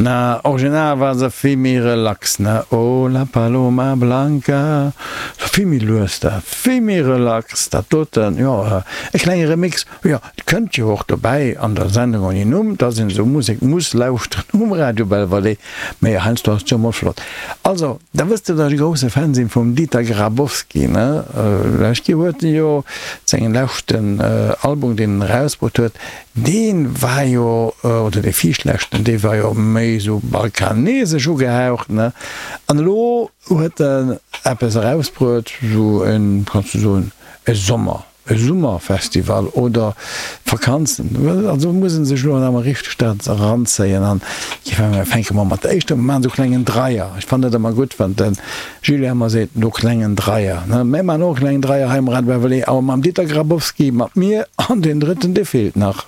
Na, original war se vill méi relax, ne? Oh la paloma blanca, sou vill méi lues dat, vill méi relax dat doten, jo, e klenge Remix, jo, et kënnt jo och dobäi an der Sendung ouni Numm, dass een esou Musek muss lauschteren um Radio Belvalée, mee heiansdo ass et jo mol flott. Also, da wësst der, dass ech e grousse Fan sinn vum Dieter Grabowski, ne? Lescht Joer huet en jo sengen leschten Album, deen en erausbruet huet, Dee war jo, oder dee viischt-leschten, dee war jo méi esou balkanesesch ugehaucht, ne? An elo huet en eppes erausbruet, esou en, kanns du soen, e Sommer, e Summerfestival oder Vakanzen. Also muss en sech elo nach emol richteg dat eranzéien. An fänke mer mat der éischter, mer maachen esou klengen Dreier. Ech fannen dat ëmmer gutt, wann de Julien ëmmer seet, no klengen Dreier, ne? Mär maachen och e klengen Dreier hei um Radio Beverly, awer mam Dieter Grabowski, mat mir an deen drëtten, dee feelt nach.